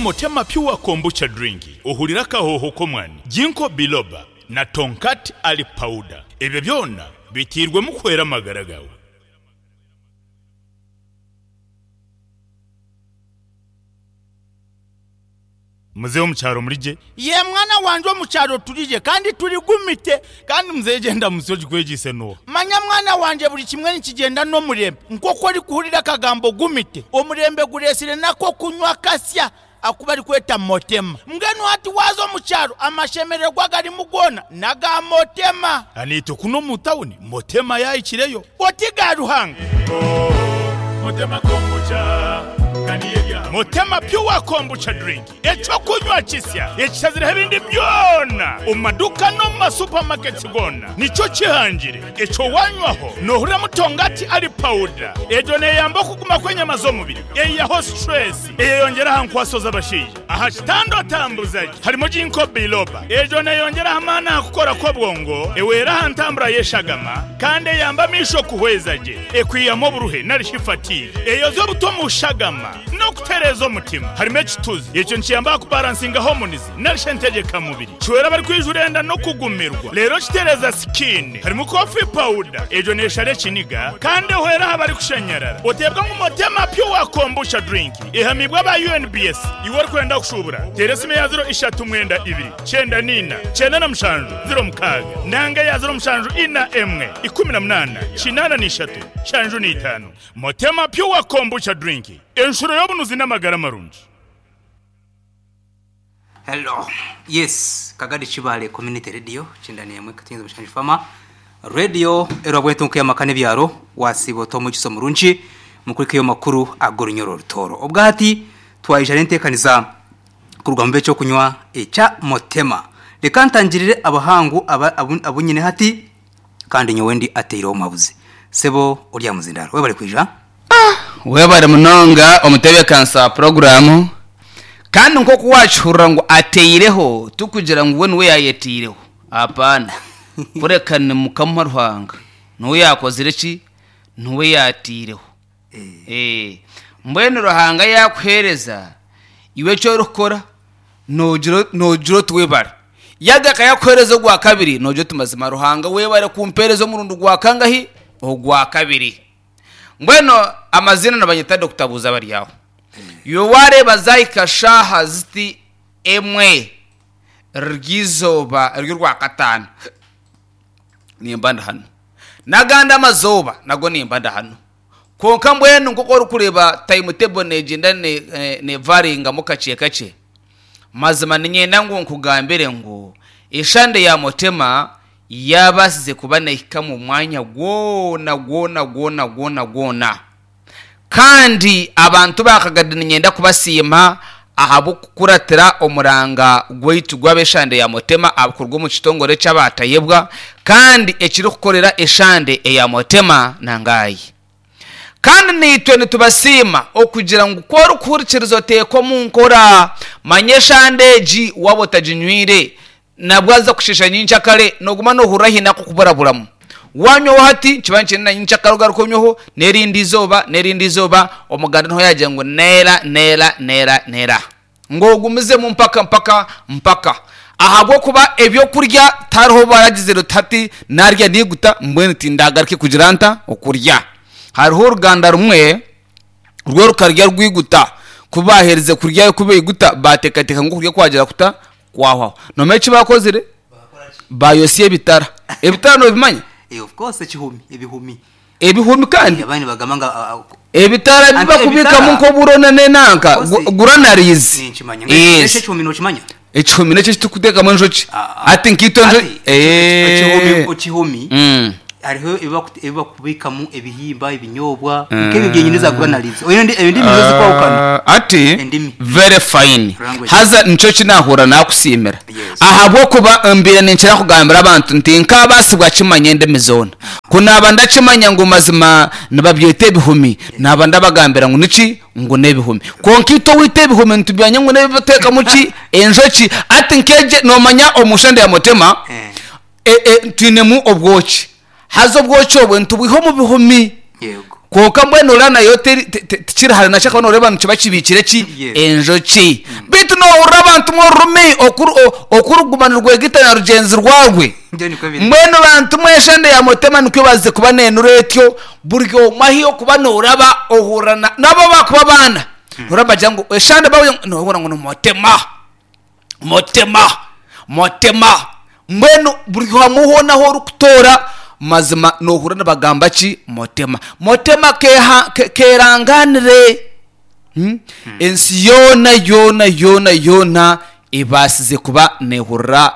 Motema Pure Kombucha Drink ohurire akahooho k'omwani, Ginkgo Biloba na Tongkat Ali Powder. Ebyo byona biteirwemu kuhwera amagara gaawe. Muzeeyi omu kyaro muri gye? Yee mwana wangye omu kyaro turi gye kandi turi gumite. Kandi muzeeyi gyenda musyo ogikwegyeise n'oha? Manya mwana wangye buri kimwe nikigyenda n'omurembe. Nk'oku orikuhurira akagambo gumite, omurembe gureetsire n'ak'okunywa kasya aku barikweta motema. Mbwenu hati waaza omu kyaro amashemererwa agarimu goona n'aga motema. Naitwe kunu omu tawuni motema yaahikireyo. Oti ga Ruhanga. Motema Pure Kombucha Drink, eky'okunywa kisya ekishazireho ebindi byona omu maduuka n'omu ma supermarkets goona nikyo kihangire. Ekyo wanywaho nohuriramu tongati ali powder. Egyo neyamba okuguma kw'enyama z'omubiri, eyihaho stress, eyeyongyera aha nkwaso z'abashaija. Aha kitanda otambuza gye harimu Ginkgo biloba. Egyo neyongyera aha maani aha kukora kw'obwongo, ehwera aha ntambura y'eshagama kandi eyamba amaisho kuhweza gye. Ekwihamu oburuhe nari shi fatigue. Eyozya obutwa omu shagama n'okutereeza omutima. Harimu ekituzi. Ekyo nikiyamba aha kubaransinga hormones nari shi entegyeka mubiri. Kihwera abarikwija enda n'okugumirwa reero kitereeza skin. Harimu coffee powder. Egyo neshara ekiniga kandi ehwera aha barikushanyarara. Oteebwa ngu Motema Pure Kombucha Drink ehamiibwe aba UNBS. Iwe orikwenda kushuubura, teera esimu eya ziro ishatu mwenda ibiri, kyenda n'ina, kyenda na mushanju, ziro mukaaga nanga eya ziro mushanju ina emwe, ikumi na munaana, kinaana na ishatu, nshanju na itaano. Motema Pure Kombucha Drink, enshuro y'obunuzi n'amagara marungi. Hello yes Kagadi Kibaale Community Radio kyenda n'emwe katinzi mushanju fama Radio erwa bwentunku y'amaka n'ebyaro wasiiba ota omugisa omurungi mukurikeyo makuru ag'orunyoro orutooro obwahati twaija n'enteekaniza kuruga mu b'ekyokunywa ekya Motema reka ntangirire abahangu aba abu abu nyine hati kandi nyowe ndi ateireho omuhabuzi sebo ori aha muzindaaro webare kwija. Webare munonga omutebeekanisa wa puroguraamu. Kandi nk'oku waakihurira ngu ateireho, tikugira ngu we niwe yaayeteireho. Hapana. Kureka ni Mukama Ruhanga niwe yaakozire ki? Niwe yaateireho. Mbwenu Ruhanga yaakuheereza, iwe eki orikukora noogira noogira oti webare. Yaagaruka yaakuheereza ogwa kabiri, noogira oti mazima Ruhanga webare kumpeereza omurundi gwa kangahi? Ogwa kabiri. Mbwenu amaziina nibanyeta Dokita Buuzabaryaho. Iwe waareeba zaahika shaaha ziti emwe ry'eizooba ry'orwakataano, nimba ndi hanu. N'agandi amazooba nago nimba ndi hanu. Kwonka mbwenu nk'oku orikureeba timetable neegyenda nevaringamu kakye kakye, mazima niinyenda ngu nkugambire ngu eshande ya Mutema yaabaasize kuba neehika omu mwanya gwona gwona gwona gwona gwona. Kandi abantu ba Kagadi niinyenda kubasiima ahabw'okukuratira omuranga gwaitu gw'ab'eshande ya Mutema kuruga omu kitongore ky'abaatayebwa kandi ekirikukorera eshande eya Mutema na Ngaayi. Kandi naitwe nitubasiima okugira ngu ku orikuhurikiriza oteeka omu nkora. Manya eshande egi waaba otaginywire, Nabwo aza kusheesha nyenkyakare, nooguma noohurira haine ak'okuburaburamu. Waanywaho hati, nikiba nikyenda na nyenkyakare ogaruke onyweho, n'erindi izooba, n'erindi izooba, omuganda niho yaagira ngu neera, neera, neera, neera. Ngu ogumizemu mpaka, mpaka, mpaka. Ahabw'okuba eby'okurya tihariho obu baragizire oti hati naarya naiguta mbwenu tindagaruke kugira nta? Okurya. Hariho oruganda rumwe. Rwo rukarya rwiguta. Ku baaherize kurya ku baiguta, baateekateeka ngu okurya kwagira kuta? Kwahwaho. Noomanya eki baakozire? Baayotsya ebitara. Ebitara noobimanya? Eh, of course ekihumi, ebihumi. Ebihumi kandi? Abandi nibagamba ngu ah, ah, Ebitara ebi Anti bakubikamu ebitara- nk'oburo n'enanka, Of course, granaries. ninkimanya. Yes. Eki ekihumi nookimanya? Ekihumi n'ekyo eki turikuteekamu enjoki. Ah, ah. Hati nkaitwe enjoki. Hati, ekihumi Eh. ekihumi Mm. hariho ebi baku- ebi bakubikamu ebihimba, ebinyobwa, nk'ebyo byenyine za granaries. Oine endi- endimi nizo zirikwahukana. Ah, ati Endimi. very fine Language. haza nikyo ki naahurira naakusiimira Yes. ahabw'okuba mbaire ninkira kugambira abantu nti nkaabaasibwa kimanya endimi zoona ku naaba ndakimanya ngu mazima nibabyeta ebihumi naaba ndabagambira ngu niki ngu n'ebihumi. Kwonka itwe owaitu ebihumi nitubimanya ngu n'ebi bateekamu ki? Enjoki. Hati nk'egyo noomanya omu nshonda ya Mutema twinemu obwoki. Haza obwoki obwo nitubwiha omu bihumi. Kwonka mbwenu oraba nayo tikiri hare nakyo ahakuba nooreeba nikiba kibiikire ki? Enjoki. Beitu noohurira abantu mwe orurimi oku ruguma nirwegita na rugyenzi rwarwe. Nibyo nikwo biri. Mbwenu bantu mwe eshande ya Mutema nikwo ebaasize kuba neenura etyo, buri omwe ahi orikuba nooraba ohurira na n'abu abakuba abaana, nohurira nibagira ngu eshande baaba nohurira ngu ni Mutema, Mutema, Mutema. Mbwenu buri hamwe hoona ahu orikutoora mazima nohurira nibagamba ki? Mutema. Mutema keha kerangaanire. Ensi yoona yoona yoona yoona ebaasize kuba neehurira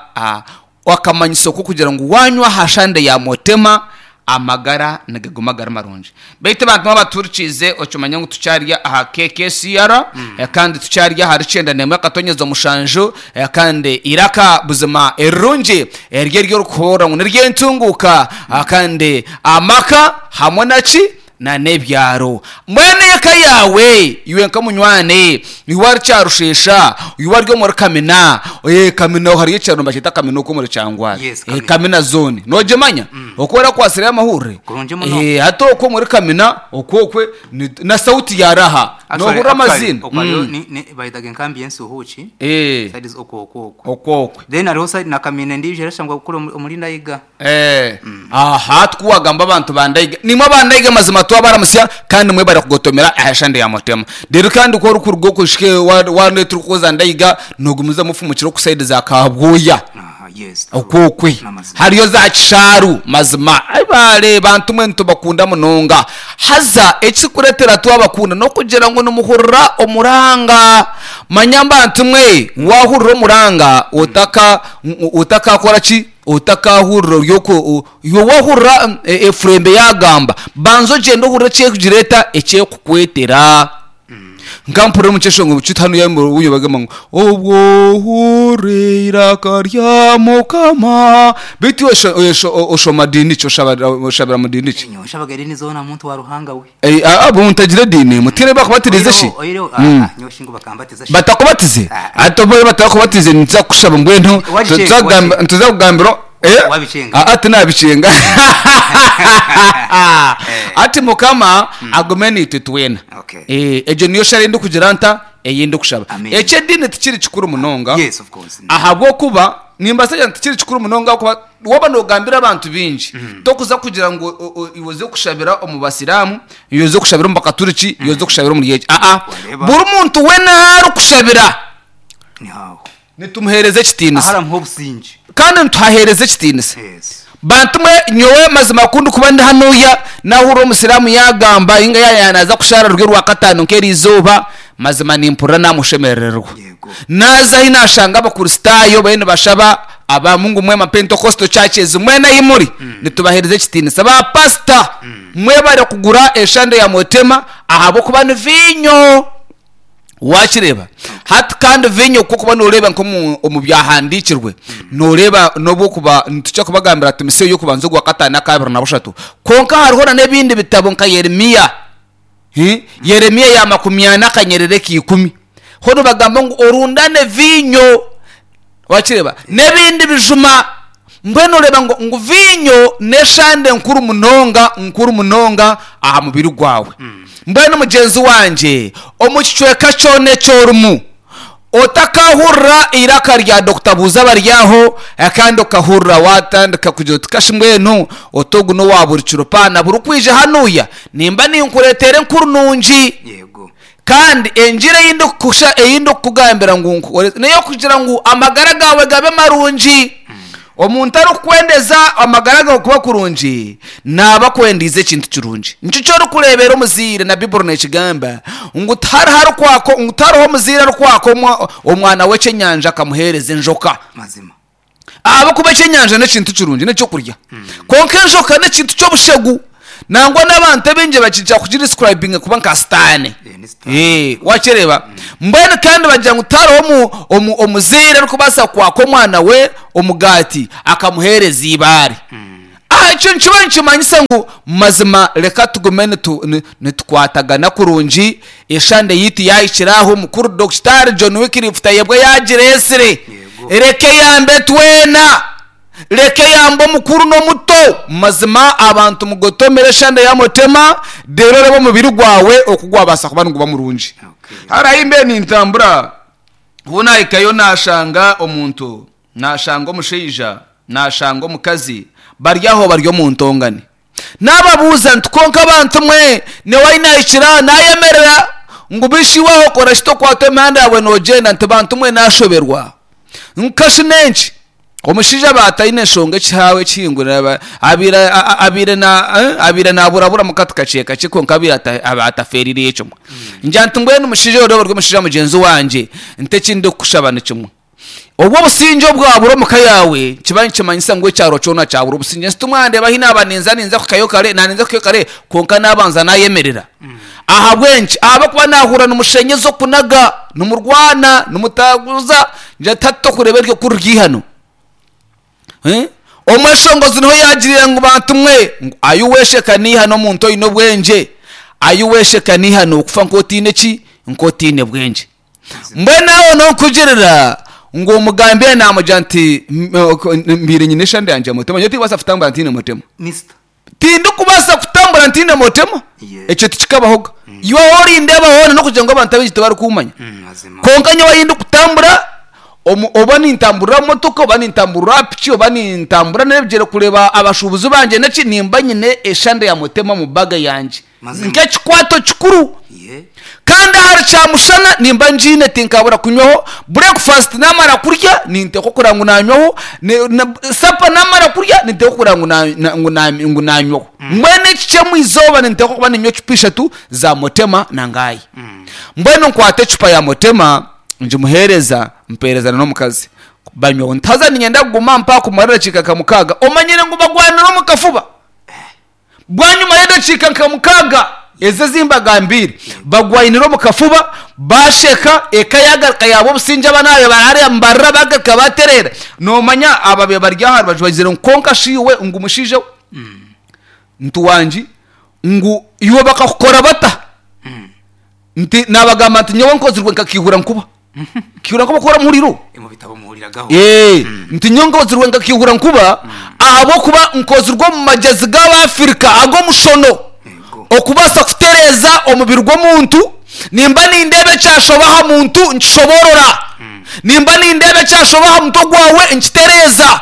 akamanyiso k'okugira ngu waanywa aha shande ya Mutema, amagara nigaguma gari marungi. Beitu abantu abatuhurikiize okimanye ngu tukyari aha KKCR kandi tukyari ahari kyenda n'emwe akatonyeza mushanju kandi eiraka buzima erirungi eryo eri orikuhurira ngu n'ery'entunguuka kandi amaka hamwe na ki? Na n'ebyaro. Mbwenu eka yaawe, iwe nka munywani, iwe ari Kyarusheesha, iwe ari omuri Kamina, ee Kamina hariyo ekyaro nibakyeta Kamina okwo omuri Kyangwari. Yes, Ee, Kamina. Kamina zone. Noogimanya? Okwo orakwatsireyo amahurire? Kurungi muno. Ee, hati okwo omuri Kamina, okwo okwe, ni- na sauti yaaraha. Actually, Noohurira actually, amaziina. okwo hariyo Mm. ni- ni- bayetaga enkambi y'ensuhuuki. Ee, Side okwo okwo okwo. okwo okwe. Then hariho side na Kamina endiijo erashangwa kuri omuri Ndaiga. Eh, aha tikuwagamba abantu ba Ndaiga. Nimwe aba Ndaiga mazima twabaramutsya kandi mwebare kugotomera aha shande ya Mutema. Reero kandi ku orikuruga okwo oshike wareetera okuza Ndaiga nogumizamu ofumukire oku sayidi za Kabwoya. Aha, yes, true. Okwo okwe. N'amazima. Hariyo za Kishaaru mazima. Ai baare bantu mwe nitubakunda munonga. Haza ekirikureetera twabakunda n'okugira ngu nimuhurira omuranga. Manya bantu mwe waahurira omuranga otaka otakakora ki? Otakaahurira ori okwo, iwe waahurira efurembe yaagamba, banza ogyende ohurire ekyerikugira eta, ekyerikukwetera. Nka mpurira omu kyeshongoro kyaitu hanu obu bagamba ngu obwo ohurira eiraka rya Mukama. Beitu iwe oshoma diini ki? Oshabira mu diini ki? Nyowe nshabaga ediini zoona muntu wa Ruhanga we. Eh, ah, ah, mutagira ediini mutiire bakubatirize shi? Oihireho, oihireho, Mm. ah, nyowe shi ngu bakambatiza shi. Batakubatize? Ah. Ati obu batakubatize nituza kukushaba mbwenu Wabichenga, tuza kugamba- wabichenga. nituza kugambira eh? Wabichenga. Ah, ah, tinabichenga. Ati Mukama agume naitwe twena. Okay. Eh, egyo niyo shara ei ndikugira nta ei ndikushaba. Amen. Eky'ediini tikiri kikuru munonga. Yes, of course. Ahabw'okuba nimbaasa kugira ngu tikiri kikuru munonga ahabw'okuba waaba noogambira abantu baingi, tokuza kugira ngu iwe oze kushabira omu basiraamu, iwe oze kushabira omu bakaturiki, iwe oze kushabira omuri eki. Aa, Wareeba. buri muntu weena ahu arikushabira Ni aho. nitumuheereza ekitiinisa. Aharamuha obusingye. Kandi nituhaheereza ekitiinisa. Yes. Bantu mwe, nyowe mazima ku ndikuba ndi hanuya, naahurira omusiraamu yaagamba nainga yaaba naaza kushaara ruri orwakataano nk'eriizooba, mazima nimpurira naamushemerererwa. Yego. Naaza ahi naashanga Abakristaayo bariyo nibashaba, abamu ngu mwema Pentecostal churches, mwena ahi muri, nitubaheereza ekitiinisa. Ba pasita, mwebare kugura eshande ya Mutema ahabw'okuba ni viinyo. Waakireeba? Hati kandi viinyo ku orikuba nooreeba nk'omu omu Byahandiikirwe, nooreeba n'obu okuba, nitukira kubagambira Timoseyo y'okubanza ogwa kataano akaabiri na bushatu. Kwonka hariho na n'ebindi bitabo nka Yeremia. Hi? Yeremia ya makumyana akanyerere k'ikumi. Ho nibagamba ngu orundane viinyo. Wakireeba? N'ebindi bijuma. Mbwenu oreeba ngu, ngu viinyo n'eshande nkuru munonga, nkuru munonga aha mubiri gwawe. Mbwenu mugyenzi wangye, omu kicweka kyona eki orimu, otakahurira eiraka rya Dokita Buuza Baryaho, kandi okahurira waatandika kugira oti kashi mbwenu oti ogu n'owa buri kiro paana buri kwija hanuya, nimba ninkureetera enkuru nungi. Yego. Kandi engiri ei ndikukusha, ei ndikukugambira ngu nkukore, n'ey'okugira ngu amagara gaawe gabe marungi. Omuntu arikukwendeza amagara gaawe kuba kurungi, naaba akwendiize ekintu kirungi. Nikyo eki orikureebera omuzaire, na Baiburi neekigamba ngu tihariho arikwaka, ngu tihariho omuzaire arikwaka omwana we eky'enyanja akamuheereza enjoka. Mazima. Ahabw'okuba eky'enyanja n'ekintu kirungi, n'eky'okurya. Kwonka enjoka n'ekintu ky'obushegu. Nangwa n'abantu abaingi bakikira kugidescribinga kuba nka sitaane. Eh, ni sitaane. Eh, wakireeba? Mbwenu kandi bagira ngu tihariho omu, omu, omuzaire arikubaasa kwaka omwana we omugaati akamuheereza eibaare. Ah, ekyo nikiba nikimanyisa ngu mazima reka tugume nitu, ni, nitukwatagana kurungi. Eshande yaitu yaahikire aho, Mukuru Dokitaari John Wycliffe Tayebwa yaagireetsire. Yego. Reka eyambe twena. Reka eyambe omukuru n'omuto. Mazima abantu mugotomere eshande ya Mutema, reero oreebe omubiri gwawe oku gwabaasa kuba niguba murungi. Okay. Hariho ahi mbaire nintambura. Obu naahikayo naashanga omuntu, naashanga omushaija, naashanga omukazi bari aho bari omu ntongane. Naababuuza nti, Kwonka bantu mwe, nyowe ahi naahikire aha naayemerera ngu bishi iwe aho okora ki tokwata emihanda yaawe noogyenda? Nti, Bantu mwe naashoberwa. Nka shi n'enki? Omushaija aba ataine nshonga ekihaawe ekihingurire abaire abaire abaire naburabura mu kati kakye kakye kwonka abaire aba atafeereire ekyo. Ngira nti mbwenu mushaija oraba ori omushaija mugyenzi wangye nti eki ndikukushaba ni kimwe. Obu obusingye obwabura omu ka yaawe nikiba nikimanyisa ngu ekyaro kyona kyabura obusingye. Nsi timwandeeba ahi naaba ninza ninza kuhikayo kare naaba ninza kuhikayo kare kwonka naabanza naayemerera. Ahabw'enki? Ahabw'okuba naahurira nimushenyeza okunaga, nimurwana, nimutaguza, ngira nti hati tokureeba eryo kuru ry'eihano. Omweshongozi niho yaagirire ngu bantu mwe, ngu ayi weesheka n'eihano omuntu oine obwengye, ayi weesheka n'eihano okufa nk'otaine ki? Nk'otaine bwengye. Mbwenu aho n'okugirira ngu omugambire naamugira nti mbaire nyine eshande yangye mutema, nyowe tindikubaasa kutambura ntaine mutema. Mister. Tindikubaasa kutambura ntaine mutema, Yeah. ekyo tikikabahoga. Iwe ahu orindeeba hoona n'okugira ngu abantu abaingi tibarikuumanya. Mazima. Kwonka nyowe ahi ndikutambura, omu oba nintamburira omu motoka, oba nintamburira aha piki, oba nintambura n'ebigyere kureeba abashuubuzi bangye n'eki, nimba nyine eshande ya mutema omu baga yangye. Mazima. Nk'ekikwato kikuru. Yeah. Kandi ahari kyamushana nimba ngiine tinkabura kunywaho, breakfast namara kurya ninteekwa kureba ngu nanywaho, supper namara kurya ninteekwa kureba ngu nanywaho. Mbwenu ekikye omu izooba ninteekwa kuba ninywa ecupa ishatu za Motema na Ngayi. Mbwenu nkwata ecupa ya Motema ngimuheereza, mpeereza na n'omukazi banywaho. Nti haza niinyenda kuguma mpaha kumara edakiika nka mukaaga, omanyire ngu bagwanire omu kafuba. Bwanyima y'edakiika nka mukaaga ezi ezi mbagambiire, bagwainire omu kafuba, baasheka, eka yaagaruka yaaba obusingye, abaana baabaire bari hariya nibarira baagaruka baatereera. Noomanya ababaire bari aha rubaju bagizire ngu kwonka shi iwe ngu mushaija we, nti wangi, ngu iwe bakakukora bata? Nti naabagamba nti nyowe nkozirwe nka kiihura nkuba. Kiihura nkuba ku oramuhuriire? Omu bitabo muhuriragaho. Ee, nti nyowe nkozirwe nka kiihura nkuba ahabw'okuba nkozirwe omu magyezi g'Abaafirika ag'omushono Yego. okubaasa kutereeza omubiri gw'omuntu. Nimba nindeeba ekyashoba aha muntu nkishoboorora. Nimba nindeeba ekyashoba aha mutwe gwawe nkitereeza.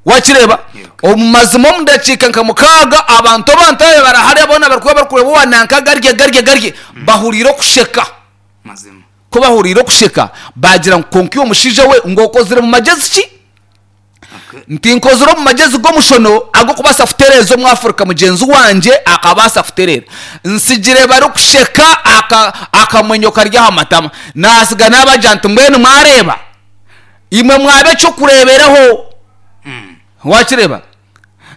Wakireeba? Omu mazima omu dakiika nka mukaaga abantu abantu ababaire bari hariya boona barikuba barikureeba owa nanka garye garye garye bahuriire okusheka. Mazima. Ku bahuriire okusheka baagira ngu kwonka iwe mushaija we ngu okozire mu magyezi ki? Okay. Nti nkozire omu magyezi g'omushono ag'okubaasa kutereeza Omwafrika mugyenzi wangye akabaasa kutereera. Nsigire barikusheka aka akamwenyo kari aha matama. Naatsiga naabagira nti mbwenu mwareeba? Imwe mwaba eky'okureeberaho. Waakireeba?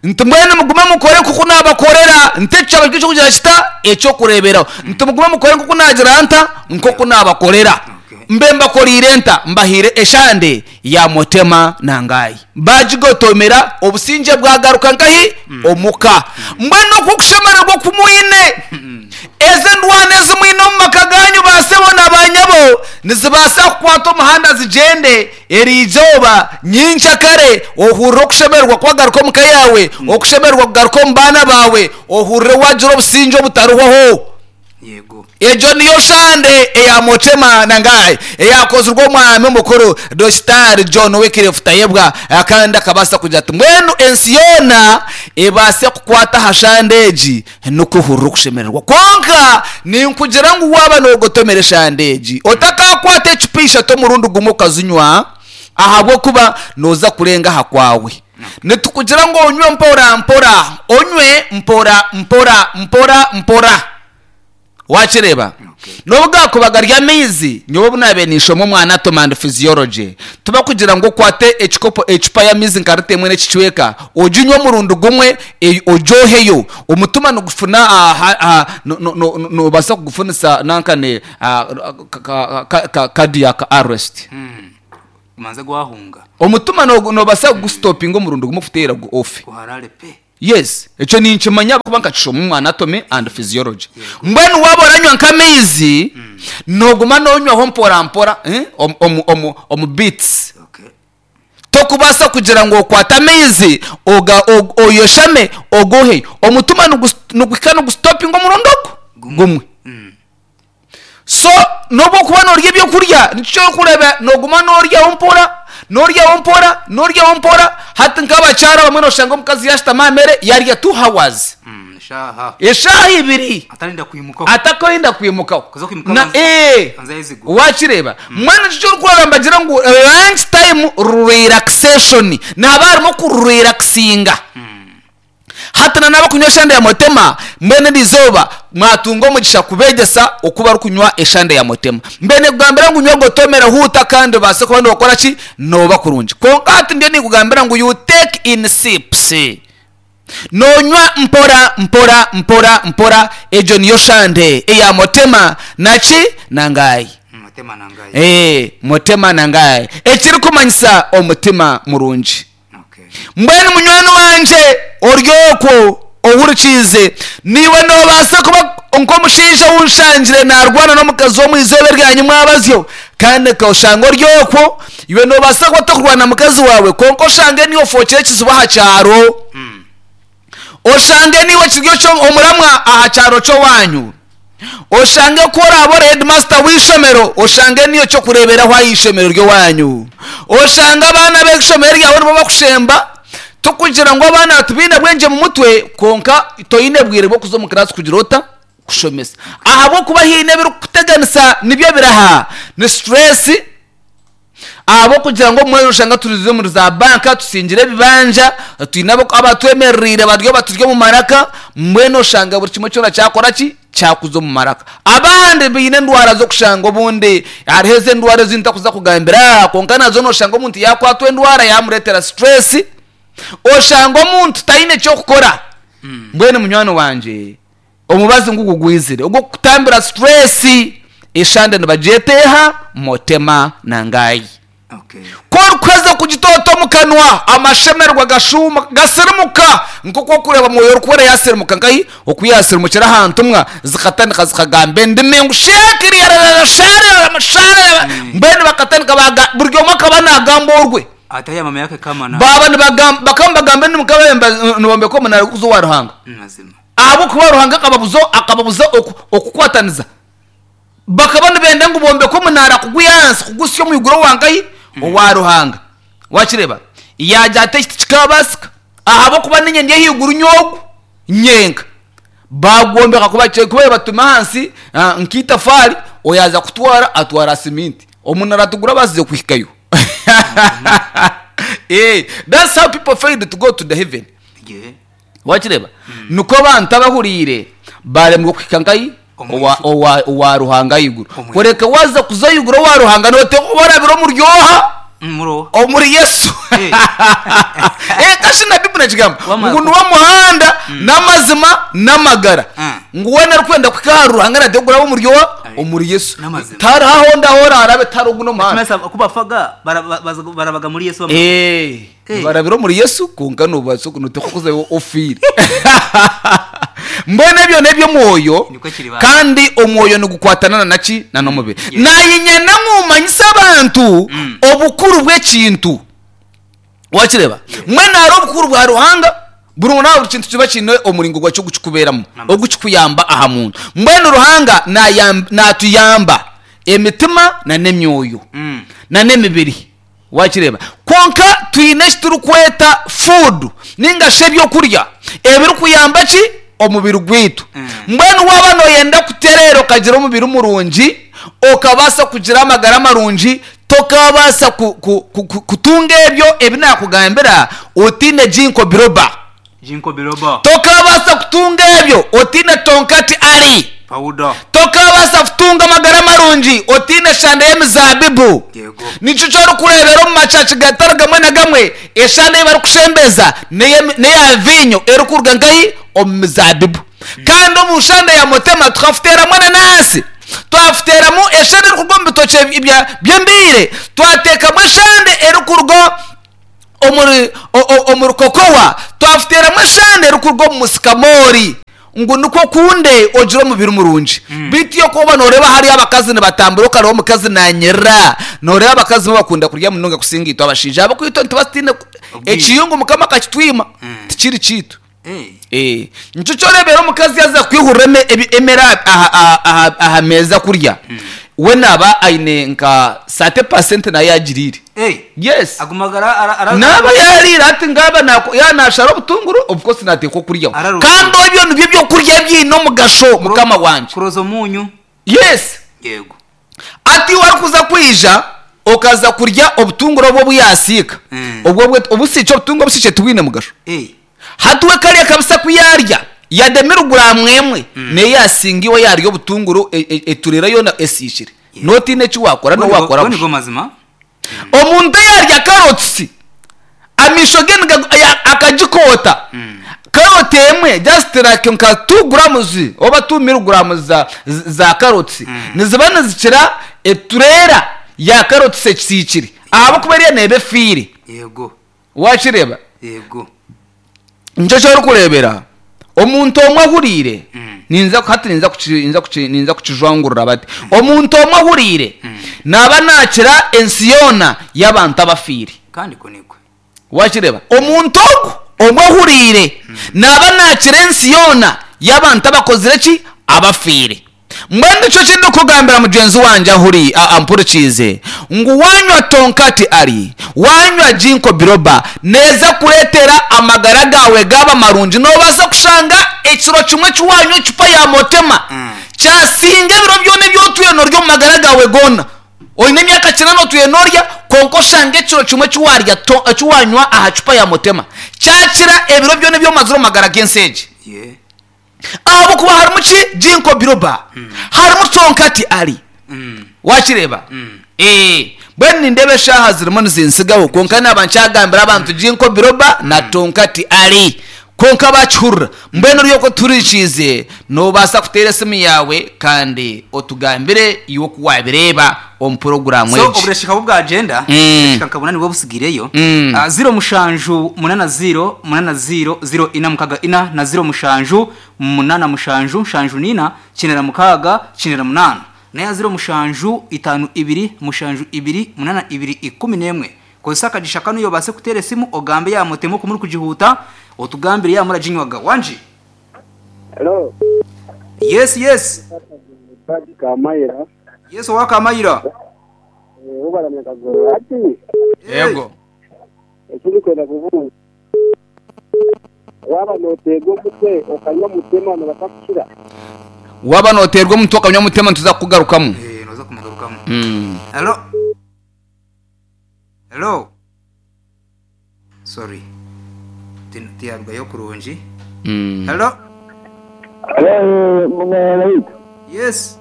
Nti mbwenu mugume mukore nk'oku naabakorera. Nti ekyo kyaba kiri eky'okugira kita? Eky'okureeberaho. Nti mugume mukore nk'oku naagira nta? Nk'oku naabakorera. Mbe mbakoreire nta? Mbahaire eshande ya Mutema na Ngayi. Baagigotomera, obusingye bwagaruka nkahi? Omuka. Mbwenu okwo okushemererwa oku mwine, ezo endwano ezi mwine omu maka gaanyu baasebo na baanyabo, nizibaasa kukwata omuhanda zigyende eri izooba, nyenkyakare, ohurire okushemererwa kwagaruka omu ka yaawe, okushemererwa kugaruka omu baana baawe, ohurire waagira obusingye obutarihwaho. Yego. Egyo niyo shande eya Mochema Nangai eyakozirwe omwami omukuru Dokitaari John Wycliffe Tayebwa kandi akabaasa kugira ati mbwenu ensi yoona ebaase kukwata aha shande egi n'okuhurira okushemererwa. Kwonka ninkugira ngu waaba noogotomera eshande egi otakakwata ecupa ishatu omurundi gumwe okazinywa ahabw'okuba nooza kurenga aha kwawe. Nitukugira ngu onywe mpora mpora, onywe mpora mpora mpora mpora. Wakireeba? N'obu gaakuba gari amaizi, nyowe obu naabaire ninshoma omu Anatomy and Physiology, tibakugira ngu okwate ekikopo, ecupa y'amaizi nka rita emwe n'ekicweka, oginywe omurundi gumwe, ogyoheyo. Omutima nigufuna, noobaasa kugufunisa nankane cardiac arrest. Gumanze gwahunga. Omutima noobaasa kugusitopinga omurundi gumwe kuteera gu ofe. Guharare pe. Yes, ekyo ninkimanya ahabw'okuba nkakishoma omu Anatomy and Physiology. Mbwenu waaba oranywa nk'amaizi, nooguma noonywaho mpora mpora, omu, omu, omu beats. Okay. Tokubaasa kugira ngu okwate amaizi oga, og, oyoshame ogoheyo. Omutima nigu, niguhika nigusitopinga omurundi ogu gumwe. So n'obu okuba norya ebyokurya nikyo orikureeba noguma noryaho mpora, noryaho mpora, noryaho mpora, hati nk'abakyara abamwe noshanga omukazi yashutama aha mere yarya two hours, Eshaaha. eshaaha ibiri Atarenda kwimukaho. atakwenda kwimukaho. Kuza kwimuka Na abanza- ee abanza ayezigura. wakireeba mbwenu nikyo orikureeba nibagira ngu lunch time relaxation nihaba harimu okurelaxinga. Hati na n'abarikunywa eshande ya motema, mbwenu eri izooba mwatunga omugisha kubeegyesa oku barikunywa eshande ya motema. Mbwenu nikugambira ngu nywa gotomera huuta kandi obaase kuba nookora ki? Nooba kurungi. Kwonka hati ndiyo ninkugambira ngu you take in sips. Noonywa mpora mpora mpora mpora, egyo niyo shande eya motema na ki? Na ngaayi. Motema na ngaayi. Ee, motema na ngaayi. Ekirikumanyisa omutima murungi. Mbwenu munywani wangye ori okwo ohurikiize, naiwe noobaasa kuba nk'omushaija ou nshangire naarwana n'omukazi omu izooba eryanyu mwabazyo, kandi oshanga ori okwo. Iwe noobaasa kuba otakurwana na mukazi waawe, kwonka oshange niiwe ofookire ekizibu aha kyaro. Oshange niiwe kiri omuramwa aha kyaro ky'owaanyu. Oshange ku oraabe ori heedimasita w'eishomero, oshange niiwe ky'okureeberaho aha ishomero ry'owaanyu. Oshange abaana b'eishomero ryawe nibo bakushemba, tikugira ngu abaana tibaine bwengye mu mutwe, kwonka toine bwire bw'okuza omu kiraasi kugira ota? Kushomesa. Ahabw'okuba haine ebirikukuteganisa nibyo biraha? Ni situreesi. Ahabw'okugira ngu obumwe noshanga turi omuri za banka tusingire ebibanja, twine abatwemerereire bari baturi omu maraka, mbwenu oshanga buri kimwe kyona kyakora ki? Kyakuza omu maraka. Abandi baine endwara z'okushanga obundi hariho ezi endwara ezi ntakuza kugambira aha kwonka nazo noshanga omuntu yakwatwa endwara yamureetera stress, oshanga omuntu taine ky'okukora. Mbwenu munywani wangye Omubazi ngugu gwizire ogw'okukutambira situresi, eshande nibagyeta eha? Motema na ngayi. Ku orikuheza kugitoota omu kanwa, amashemererwa gashuuma, gasirimuka nk'oku orikureeba Mwoyo Orikwera yaasirimuka nkahi? Oku yaasirimukire aha ntumwa zikatandika zikagamba endimi ngu sheekiriyararara shaararara shaararara mbwenu bakatandika baaga buri omwe akaba naagamba orwe. Ate ya mama yake kama na Baaba nibagamba bakaba nibagamba endimi nk'abayemba nibombeka omunaara gw'okuza owa Ruhanga. Mazima. Ahabw'okuba Ruhanga akababuza akababuza okukwataniza. Bakaba nibenda ngu bombeke omunaara kugwiha ahansi kuguhitsya omu iguru owa nkahi? Owa Ruhanga. Wakireeba? Yaagira ati eki tikikaabaasika ahabw'okuba niinye ndi ahaiguru nyowe nyenka. Baagwombeka ku baabaire batuma ahansi nk'eitafaari, oyaaza kutwara atwara siminti. Omunaara tigurabaasize kuhikayo. That's how people failed to go to the heaven. Wakireeba? Nikwo abantu abahuriire baaremwa kuhika nkahi? Omu Owa, iguru. owa, owa Ruhanga ahaiguru. Omu iguru. Kureka waaza kuza ahaiguru owa Ruhanga nooteekwa kuba orabire omuri oha? Omuri oha? Omuri Yesu. Eh. Eh, kashi na Bible nekigamba Wamara ngu ku- niwe muhanda n'amazima n'amagara. Mm. Ngu weena orikwenda kuhika ahari Ruhanga naateekwa kuraba omuri oha? Aye. Omuri Yesu. N'amazima. Tihariho ahondi ahu oraarabe tihariho ogundi omuhanda. Kimanyisa ku bafaga bara- ba- baza- barabaga muri Yesu bamara. Eh, Eh. nibarabira omuri Yesu kwonka nobaasa noteekwa kuzayo ofiire. Mbwenu ebyo n'eby'omwoyo Nikwo kiri ba. kandi omwoyo nigukwatana na naki? Na n'omubiri. Yes. Nayinyenda ngu manyise abantu obukuru bw'ekintu. Wakireeba? Mbwenu hariho obukuru bwa Ruhanga, buri nawe buri kintu kiba kiine omuringo gwakyo ogu kikubeeramu, ogu kikuyamba aha muntu. Mbwenu Ruhanga nayamba natuyamba emitima na n'emyoyo na n'emibiri. Wakireeba? Kwonka twine eki turikweta food ninga shi ebyokurya ebirikuyamba ki? Omubiri gwaitu. Mbwenu waaba nooyenda kutereera okagira omubiri murungi, okabaasa kugira amagara marungi, tokaabaasa ku, ku, ku, ku, kutunga ebyo ebi naakugambira otaine ginkgo biloba. Ginkgo biloba. Tokaabaasa kutunga ebyo otaine tonkati ali. Powder. Tokaabaasa kutunga amagara marungi otaine shande y'emizaabibu. Yego. Nikyo eki orikureebera omu macaci gatari gamwe na gamwe, eshande ei barikushembeza n'eya viinyo erikuruga nkahi? Omu mizaabibu. Kandi omu shande ya Mutema tukafuteeramu enanansi, twafuteeramu eshande erikuruga omu bitookye by'embiire, twateekamu eshande erikuruga omuri omuri kokowa, twafuteeramu eshande erikuruga omu musikamoori ngu nikwo okunde ogire omubiri murungi. Beitu iwe ku orikuba nooreeba hariyo abakazi nibatambura okareeba omukazi naanyirira, nooreeba abakazi bo bakunda kurya munonga kusinga itwe abashaija. Ahabw'okuba itwe nituba tutaine Obwire. ekiyungu Mukama akakitwima, tikiri kyaitu. Eh. Nikyo kyoreebera omukazi yaaza kwihurira emere aha meeza kurya, we naaba aine nka 30% nayo yaagiriire. Eh. Yes. Agumaga ara ara Naaba yaariire hati ngaaba yaaba naashara obutunguru, of course naateekwa okuryaho. Araruhuka. Kandi ebyo nibyo by'okurya ebiine omugasho mukama wangye. Kuroza omunyu. Yes. Yego. Hati iwe arikuza kwija okaza kurya obutunguru obwo obu yaasiika, obwo obusiikye obutunga obusiikye tibwine mugasho. Hati we kariya kabisa ku yaarya yademire guraamu emwe nayo yaasinga iwe yaarya obutunguru etureera yoona esiikire. Nootiina eki waakora n'obu waakora Ago nigo busha. mazima. Omuntu yaarya karotsi amaisho ge akagikoota, karoti emwe just like nka two grams oba two milligrams za karotsi niziba nizikira etureera ya karotsi esiikire ahabw'okuba eriya neeba efiire. Yego. Waakireeba? Yego. Nikyo eki orikureebera omuntu omwe ahuriire, ninza hati ninza kuki ninza kuki ninza kukijwangurura bati, omuntu omwe ahuriire naaba naakira ensi yoona y'abantu abafiire. Kandi kwo nikwo. Waakireeba? Omuntu ogwo omwe ohuriire naaba naakira ensi yoona y'abantu abakozire ki? Abafiire. Mbwenu nikyo ki ndikugambira mugyenzi wangye ahuri, ampurikiize, ngu waanywa Tonkati Ali, waanywa Ginkgo Biloba, neeza kureetera amagara gaawe gaaba marungi. Noobaasa kushanga ekiro kimwe eki waanywa ecupa ya Motema kyasinga ebiro byona ebi otwire noorya omu magara gaawe goona. Oine emyaka kinana otwire noorya, kwonka oshange ekiro kimwe eki waarya eki waanywa aha cupa ya Motema kyakira ebiro byona ebi omazire omu magara g'ensi egi. Ahabw'okuba harimu ki? Ginkgo biloba. Harimu Tonkati Ali. Waakireeba? Ee. Mbwenu nindeeba eshaaha zirimu nizintsigaho, kwonka naaba nkyagambira abantu Ginkgo biloba na Tonkati Ali. Kwonka baakihurira. Mbwenu ori okwo tuhurikiize, noobaasa kuteera esimu yaawe kandi otugambire iwe oku waabireeba omu puroguraamu So egi. obureesheka bwo bwagyenda, obureesheka nka buna nibwo busigaireyo. Ziro mushanju munana ziro munana ziro ziro ina mukaga ina na ziro mushanju munana mushanju nshanju nina kinera mukaga kinera munana na ziro mushanju itano ibiri mushanju ibiri munana ibiri 11. Kozesa akagisha kanu obaase kuteera esimu ogambe yaaba mutema oku murikugihuuta otugambire yaaba muraginywaga. Wangi? Hello. Yes yes. Paji Kamayira. Yes owa Kamayira. Eh, ubaramya Kagoro. Ati. Yego. Ekindi kwenda kubuuza. Waaba nooteerwa omutwe okanywa mutema nobaasa kukira? Waaba nooteerwa omutwe okanywa mutema nituza kukugarukamu. Eh, noza kumugarukamu. Hello. Hello. Sorry. Tiyarugayo kurungi. Hello. Hello, mwana waitu. Yes.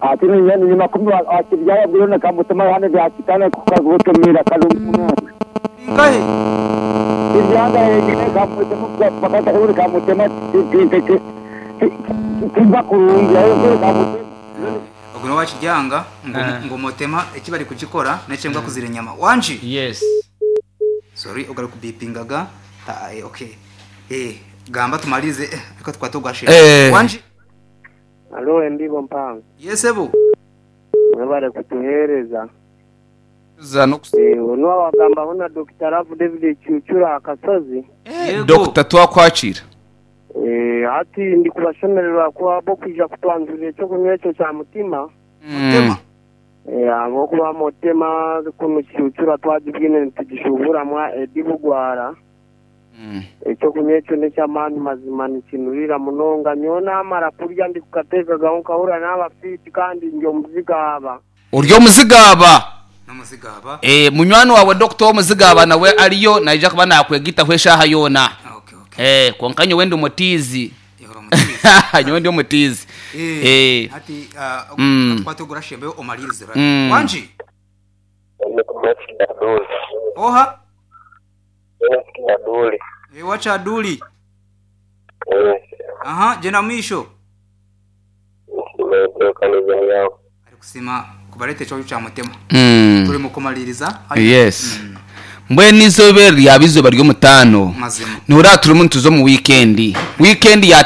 Ati ni makumi akibyara bwirona kamutema hane byakitana kukagutumira kalungu. Ingahe? Ibyanga yegine kamutema bakata kuri kamutema tinte timba kurungi ayo kuri kamutema. Ogwo n'owakiryanga ngu ngu mutema eki bari kugikora n'ekyembwa kuzira enyama. Wangi? Yes. Sorry ogwo arikubipingaga. Ta, eh, okay. Eh, gamba tumalirize eh, reka tukwate ogwashemba. Eh. Wangi? Alo embibo mpango. Yes sebo. Mwebare kutuhereza. Za n'okus- Eh, onu awagambaho na Dokita Love David Kyukyura Akasozi. Yego. Dokita twakwakira. Eh, hati ndi kubashemererwa kuba bokwija kutwanzurira ekyokunywa ekyo kya mutima. Mutema. Eh, ahabw'okuba mutema kunu Kyukyura twagibwine nitugishuburamu Eddy Bugwara. Ekyokunywa ekyo n'eky'amaani mazima nikinurira munonga. Nyowe naamara kurya ndikukateekagaho nkahurira naaba fiiti kandi ndi omuzigaaba. Ori omuzigaaba. N'omuzigaaba. Eh, munywani waawe Dokita w'omuzigaaba nawe ariyo naija kuba naakwegitaho eshaaha yoona. Okay, okay. Eh, kwonka nyowe ndi omutiizi. Iwe ori omutiizi. Nyowe ndi omutiizi. Eh, Eh. hati tukwate ogurashembeyo omalirize. Wangi? Oha? Eh, wa Kyaduli. Aha, gyenda mumaisho. Arikusiima kubareetera ekyokurya kya Mutema. Turi mukumaliriza. Yes. Mbwenu eizooba eri ryaba eizooba ry'omutaano. Mazima. Noreeba turimu nituza omu wiikendi. Wiikendi ya.